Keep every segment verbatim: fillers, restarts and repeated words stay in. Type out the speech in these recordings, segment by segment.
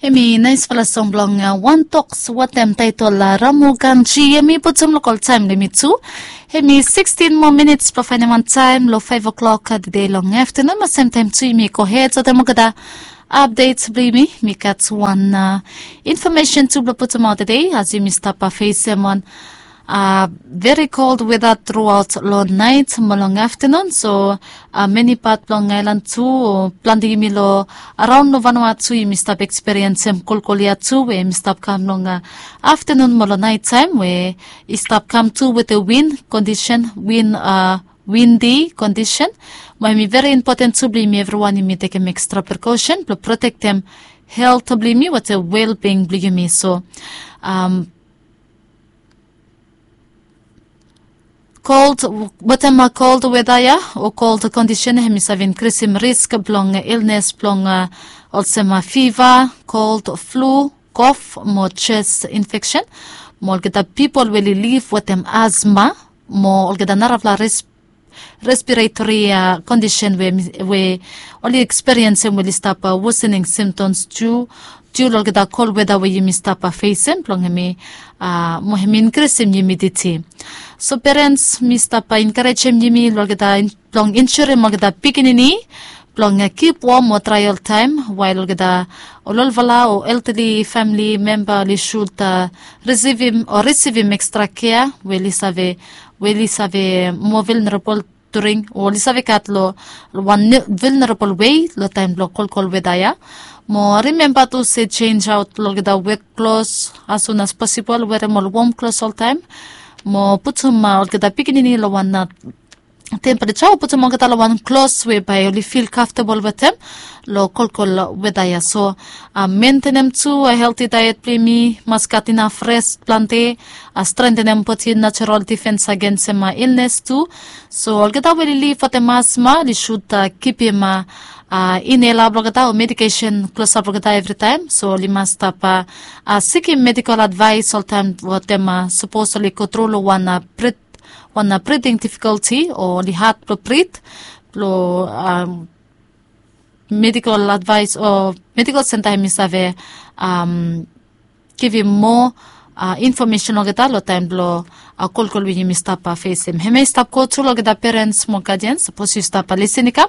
Em i naisfala song blong wantok wetem taitol Ramu Ganji. Em i putum lokol taem long yumi tu. Em i sikstin moa minits blong faenem wan taem long faev o'klok tede long aftenun. Mo semtaem tu yumi gohed wetem olgeta apdet blong yumi. Mi gat wan infomesen tu blong putumaot tede as yumi stap fesem wan veri kol weda truaot long naet mo long aftenun. So meni pat blong aelan tu, plante yumi long araon long vanua tu yumi stap ekspiriensem kolkol ya tu we yumi stap kam long aftenun mo long naet taem we i stap kam tu wetem win kondisen, win windi kondisen. Mo em i veri impoten tu blong yumi evriwan yumi tekem ekstra prekosen blong protektem helt blong yumi wetem welbing blong yumi. So kol, wetem kol weda ya o kol kondisen em i save inkrisim risk blong ilnes blong olsem fiva, kol, flu, kof mo jes infeksen. Mo olgeta pipol we oli liv wetem asma mo olgeta narafala respiratori kondisen we oli ekspiriensem we oli stap wosening simptoms tu, tu long olgeta kol weda we yumi stap fesem blong em i mo em i inkrisim yumiditi. So perens, mi stap enkarejem yumi long olgeta blong insurim olgeta pikinini blong kip wom o drae oltaem wael olgeta ol olfala o eltali famili memba oli sud risivim o risivim ekstra kea we oli save, we oli save moa vilnerabol during o oli save gat long wan vilnerabol wei long taem blong kolkol weda ya. Mo rimemba tu se jenjaot long olgeta wet klos as sun as posibol, werem ol wom klos oltaem. Mo putum olgeta pikinini long wan tempereja o putum olgeta long wan klos we bae oli fil kamftabol wetem long kolkol weda ya. So mentenem tu helti daet blong yumi, mas gat inaf res plante, strentenem bodi najerol difens agensem ilnes tu. So olgeta we oli liv wetem asma oli sud kipim inela blong olgeta o medikesen klosap long olgeta evritaem. So oli mas stap sikim medikol advaes oltaem wetem sapos oli gotru long wan wan briding difikolti o oli had blong brid blong medikol advaes o medikol senta em i save givim moa infomesen long olgeta long taem blong kolkol we yumi stap fesem. Hemia i stap go tu long olgeta perens mo gadians, sapos yu stap lisin i kam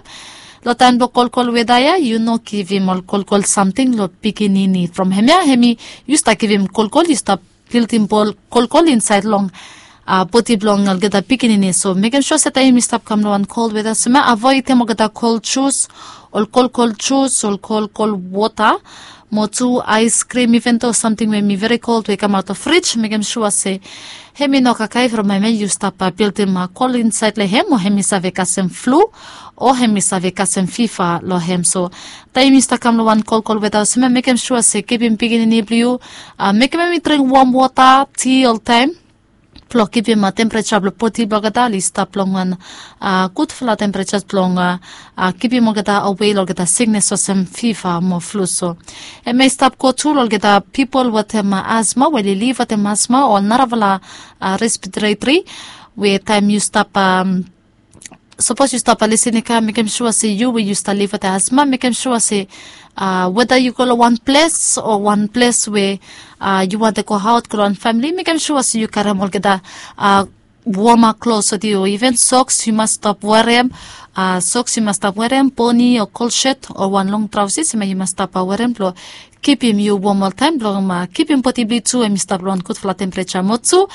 long taem blong kolkol weda ya, yu no givim ol kolkol samting long pikinini. From hemia hemi yu stap givim kolkol, yu stap bildim kolkol insaed long bodi blong olgeta pikinini. So mekem sua se taem yumi stap kam long wan kol weda olsem ya, avoedem olgeta kol jus, ol kolkol jus, ol kolkol wota, mo tu aeskrim, iven do samting we hemi veri kol we i kamaot long frij, mekem sua se hemi no kakae from hemia yu stap bildim kol insaed long hem o hemi save kasem flu o hemi save kasem fiva long hem. So taem yu stap kam long wan kolkol weda olsem ya, mekem sua se givim pikinini blong yu, mekem hemi dring wom wota, ti oltaem blong givim tempereja blong bodi blong olgeta oli stap long wan gudfala tempereja blong givim olgeta awe long olgeta siknes olsem fiva mo flu. So hemia i stap go tu long olgeta pipol wetem asma we oli liv wetem asma o narafala respiratori we taem yu stap sapos yu stap lisin i kam, mekem sua se yu we yu stap liv wetem asma, mekem sua se weda yu go long wan ples o wan ples we yu wantem goaot go long wan famili, mekem sua se yu karem olgeta woma klos wetem yu, iven soks yu mas stap werem. Soks yu mas stap werem, poni o kolset o wan long traosis hemia yu mas stap werem blong kipim yu wom oltaem blong kipim bodi blong yu tu hemi stap long wan gudfala tempereja. Mo tu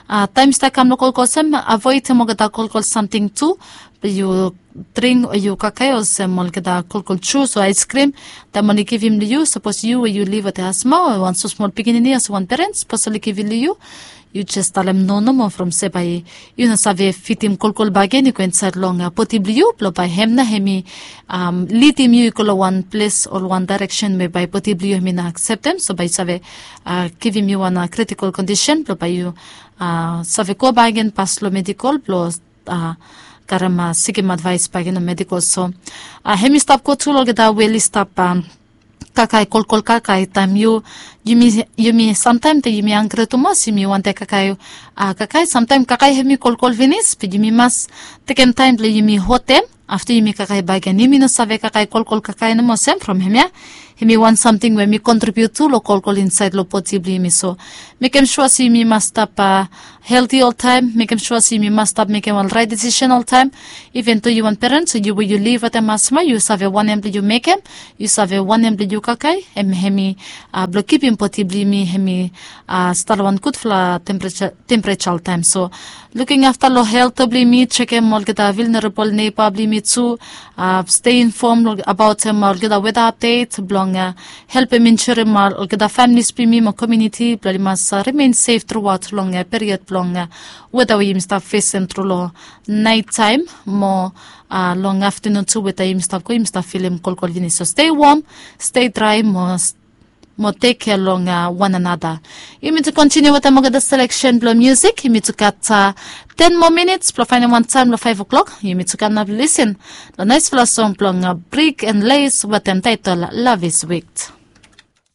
taem yu stap kam long kolkol olsem, avoedem olgeta kolkol samting tu blong yu dring o yu kakae olsem olgeta kolkol jus o aeskrim taem oli givim long yu. Sapos yu we yu liv wetem asma o wan smosmol pikinini olsem wan perens, sapos oli givim long yu, yu jes talem no nomo from se bae yu no save fitim kolkol bakegen i go insaed long bodi blong yu blong bae hem nao hemi lidim yu i go long wan ples o wan daereksen we bae bodi blong yu hemi no akseptem. So bae yu save givim yu wan kritikol kondisen blong bae yu save go bakegen pas long medikol blong karem sikim advaes bakegen long medikol. So hemi stap go tu long olgeta we oli stap kakae kolkol kakae taem yu, yumi, yumi samtaem taem yumi hanggri tumas yumi wantem kakae kakae, samtaem kakae hemi kolkol finis be yumi mas tekem taem blong yumi hotem afta yumi kakae bakegen. Yumi no save kakae kolkol kakae nomo olsem from hemia Hemi wan samting we mi kontribiut tu long kolkol insaed long bodi blong yumi. So mekem sua se yumi mas stap helti oltaem, mekem sua se yumi mas stap mekem ol raet disisen oltaem. Iven tu yu wan perens o yu we yu liv wetem asma, yu save wanem blong yu mekem, yu save wanem blong yu kakae, em hemi blong kipim bodi blong yumi hemi stap long wan gudfala tempereja oltaem. So luking afta long helt blong yumi, jekem olgeta vilnerabol neba blong yumi tu. Stei infom abaotem olgeta weda apdet blong helpem insurim olgeta familis blong yumi mo komuniti blong oli mas rimen sef truaot long period blong weda we yumi stap fesem tru long naet taem mo long aftanun tu, weda yumi stap go yumi stap filim kolkol finis. So stei wom, stei drae mo mo tek kea long wan anata. Yumi tu kontiniu wetem olgeta seleksen blong musik. Yumi tu gat ten moa minits blong faenem wan taem long faef oklok. Yumi tu gat naf lisin long naesfala song blong Brik and Les wetem taetol Love Is Wit.